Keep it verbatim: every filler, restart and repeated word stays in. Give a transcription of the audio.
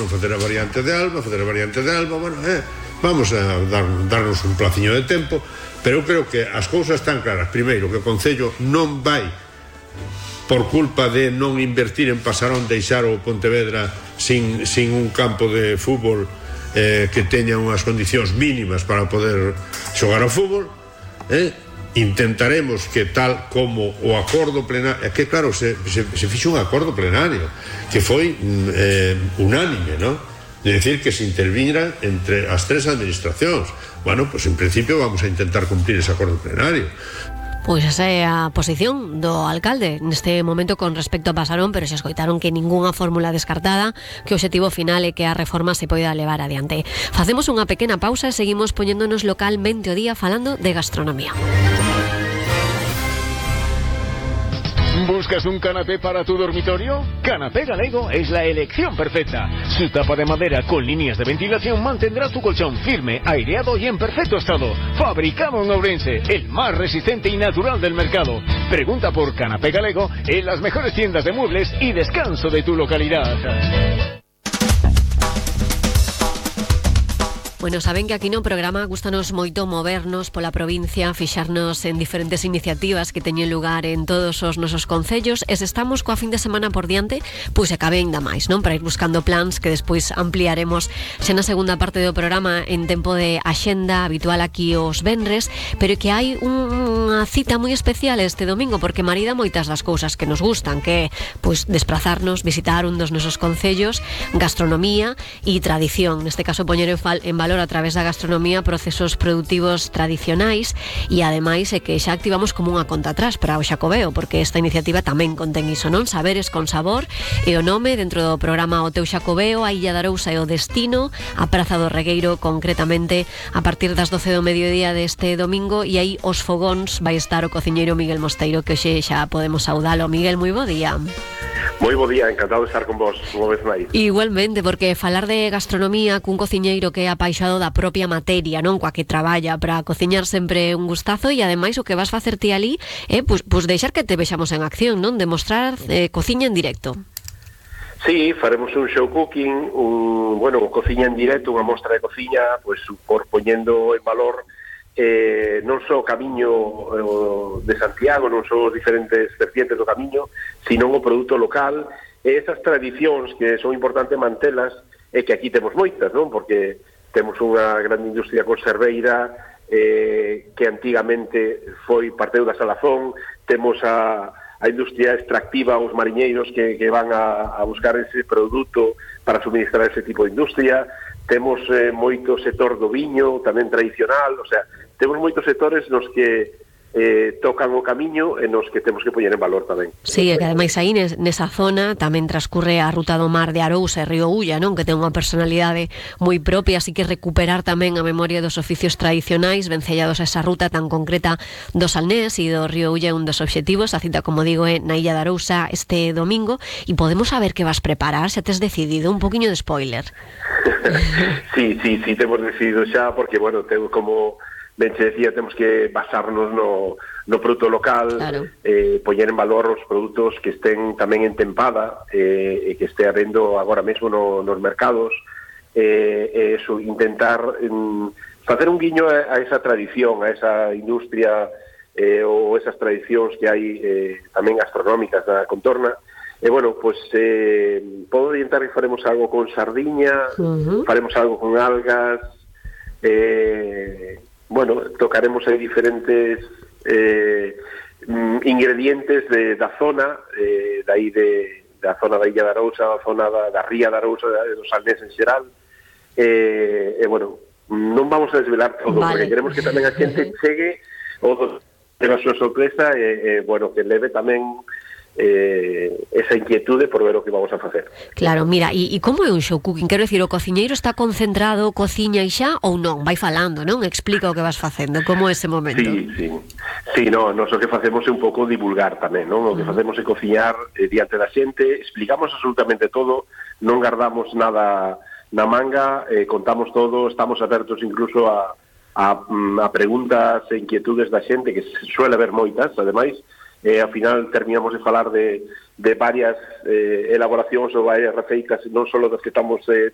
facer a variante de Alba, facer a variante de Alba, bueno, eh, vamos a dar, darnos un placiño de tempo, pero eu creo que as cousas están claras. Primeiro, que o Concello non vai, por culpa de non invertir en Pasarón, deixar o Pontevedra sin, sin un campo de fútbol eh, que teña unhas condicións mínimas para poder xogar ao fútbol. eh, intentaremos que tal como o acordo plenario, é que claro, se, se, se fixo un acordo plenario que foi eh, unánime, ¿no? De decir que se intervira entre as tres administracións. Bueno, pues en principio vamos a intentar cumplir ese acordo plenario. Pois esa é a posición do alcalde neste momento con respecto a Pasarón, pero se escoitaron que ningunha fórmula descartada, que o obxectivo final é que a reforma se poida levar adiante. Facemos unha pequena pausa e seguimos poñéndonos localmente o día falando de gastronomía. ¿Buscas un canapé para tu dormitorio? Canapé Galego es la elección perfecta. Su tapa de madera con líneas de ventilación mantendrá tu colchón firme, aireado y en perfecto estado. Fabricado en Ourense, el más resistente y natural del mercado. Pregunta por Canapé Galego en las mejores tiendas de muebles y descanso de tu localidad. Bueno, saben que aquí no programa gustanos moito movernos pola provincia, fixarnos en diferentes iniciativas que teñen lugar en todos os nosos concellos, e se estamos coa fin de semana por diante, pois acabe ainda máis, non? Para ir buscando plans que despois ampliaremos xa na segunda parte do programa en tempo de axenda habitual aquí os venres, pero que hai unha cita moi especial este domingo porque marida moitas das cousas que nos gustan, que é pois desprazarnos, visitar un dos nosos concellos, gastronomía e tradición, neste caso poñer en, fal, en valor a través da gastronomía procesos productivos tradicionais e ademais é que xa activamos como unha conta atrás para o Xacobeo, porque esta iniciativa tamén contén iso, non? Saberes con sabor e o nome dentro do programa O Teu Xacobeo, a Illa de Arousa e o destino, a Praza do Regueiro concretamente a partir das doce do mediodía deste domingo, e aí os fogóns vai estar o cociñeiro Miguel Mosteiro, que hoxe xa podemos saudalo. Miguel, moi bo día. Moi bo día, encantado de estar con vos unha vez máis. Igualmente, porque falar de gastronomía cun cociñeiro que é apaixonado da propia materia, non, coa que traballa para cociñar sempre un gustazo, e ademais o que vas facer ti ali é pois, pois deixar que te vexamos en acción, non? Demostrar eh, cociña en directo. Sí, faremos un show cooking, un, bueno, cociña en directo, unha mostra de cociña, pois por poñendo en valor eh, non só o camiño eh, de Santiago, non só os diferentes vertientes do camiño, sino o produto local, e esas tradicións que son importantes mantelas, e que aquí temos moitas, non? Porque temos unha gran industria conserveira eh, que antigamente foi parteu da Salazón, temos a, a industria extractiva, os mariñeiros que, que van a, a buscar ese produto para suministrar ese tipo de industria, temos eh, moito sector do viño, tamén tradicional, o sea, temos moitos sectores nos que eh, tocan o camiño e nos que temos que poñer en valor tamén. Sí, e que ademais aí nesa zona tamén transcurre a ruta do mar de Arousa e Río Ulla, non? Que ten unha personalidade moi propia, así que recuperar tamén a memoria dos oficios tradicionais vencellados a esa ruta tan concreta do Salnés e do Río Ulla é un dos obxectivos. A cita, como digo, é na Illa de Arousa este domingo, e podemos saber que vas preparar, se tes decidido, un poquinho de spoiler. Sí, sí, sí, temos decidido xa, porque, bueno, temos como ben che decía, temos que basarnos no, no produto local, claro. eh, poñer en valor os produtos que estén tamén en tempada, eh, e que este habendo agora mesmo no, nos mercados, eh, e eso, intentar um, facer un guiño a, a esa tradición, a esa industria eh, ou esas tradicións que hai eh, tamén gastronómicas da contorna. E, bueno, pois, eh, podo orientar que faremos algo con sardiña, uh-huh. faremos algo con algas, eh... bueno, tocaremos aí diferentes eh, ingredientes de, da zona, eh, de aí de, da zona da Illa de Arousa, da zona da, da Ría de Arousa, do Salnés en xeral, e eh, eh, bueno, non vamos a desvelar todo, vale. Porque queremos que tamén a xente chegue o de a súa sorpresa e, eh, bueno, que leve tamén eh, esa inquietude por ver o que vamos a facer. Claro, mira, e, e como é un show cooking? Quero dicir, o cociñeiro está concentrado, cociña e xa, ou non? Vai falando, non? Explica o que vas facendo, como é ese momento. Sí, sí, sí, no, nos o que facemos é un pouco divulgar tamén, non? O que facemos é cociñar eh, diante da xente, explicamos absolutamente todo, non guardamos nada na manga, eh, contamos todo, estamos abertos incluso a, a, a preguntas e inquietudes da xente, que suele haber moitas, ademais, e ao final terminamos de falar de, de varias eh, elaboracións ou varias receitas, non só das que estamos eh,